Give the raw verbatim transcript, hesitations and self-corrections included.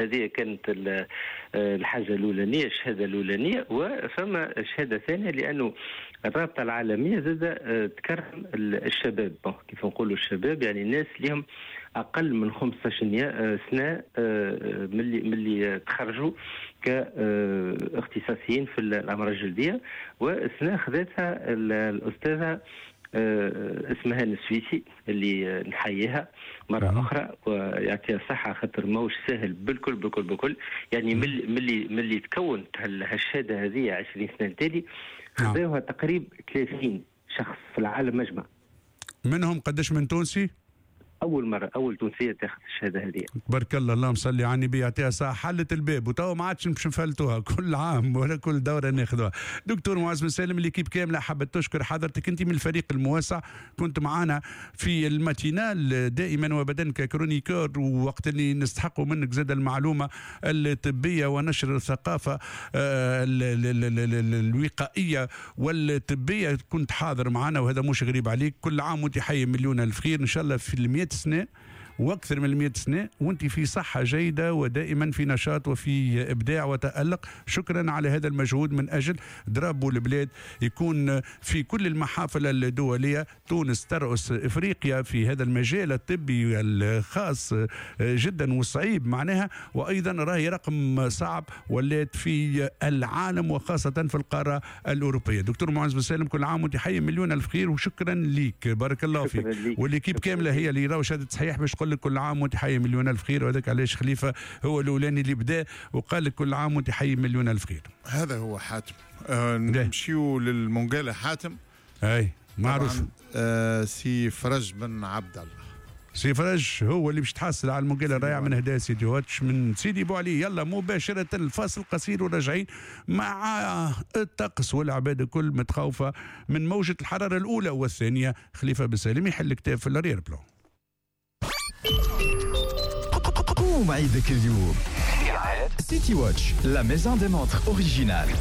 هذه كانت الحاجة الاولانيه، الشهادة الاولانيه. وفما شهادة ثانية لانه الرابطة العالمية زاد تكرم الشباب، كيف نقولوا الشباب يعني الناس اللي اقل من خمسطاش سنة من اللي من اللي تخرجوا كاختصاصيين في الامراض الجلديه. والسنة خذتها الاستاذة اسمها السويسي اللي نحييها مرة اخرى ويعطيها الصحه، خاطر ماهوش سهل بالكل بالكل بالكل. يعني من اللي من اللي تكونت هالشهاده هذه عشرين سنة التالي خذوها تقريبا ثلاثين شخص في العالم مجمع. منهم قداش من تونسي؟ اول مرة اول تونسية تاخذ الشهادة هذه. تبارك الله، اللهم صل على النبي، يعطيها صحة. حلت الباب وتوا ما عادش باش نفلتوها كل عام ولا كل دوره ناخذوها. دكتور معز بن سالم، l'équipe كاملة حابة تشكر حضرتك، انت من الفريق الموسع، كنت معنا في ال matinale دائما وابدا ك chroniqueur، ووقت اللي نستحقوا منك زاد المعلومة الطبية ونشر الثقافة الوقائية والطبية كنت حاضر معنا، وهذا مش غريب عليك. كل عام وانت حي مليون الف خير ان شاء الله في المئة سنة واكثر من مئة سنة وانت في صحة جيدة ودائما في نشاط وفي ابداع وتالق. شكرا على هذا المجهود من اجل drapeau البلاد يكون في كل المحافل الدوليه. تونس ترأس افريقيا في هذا المجال الطبي الخاص جدا والصعيب معناها، وايضا راهي رقم صعب ولات في العالم وخاصة في القارة الاوروبية. دكتور معز بن سالم، كل عام وانت حي مليون الف خير وشكرا ليك، بارك الله فيك. و l'équipe كاملة هي اللي راهو شهادة صحيح باش تقول لك كل عام وانت حي مليون الف خير، وهذاك علاش خليفة هو الاولاني اللي بدا وقال لك كل عام وانت حي مليون الف خير. هذا هو حاتم. آه نمشيو للمنقالة حاتم. اي معروف. آه سي فرج بن عبد الله. سي فرج هو اللي باش تحصل على المنقالة الرائعة من هدايا سيدي واتش من سيدي بوعلي. يلا مباشرة الفاصل قصير وراجعين مع الطقس والعباد الكل متخوفة من موجة الحرارة الأولى والثانية. خليفة بن سالم يحل كتاب في ال arrière-plan. قوم عيدك اليوم. City Watch, la maison des montres originales.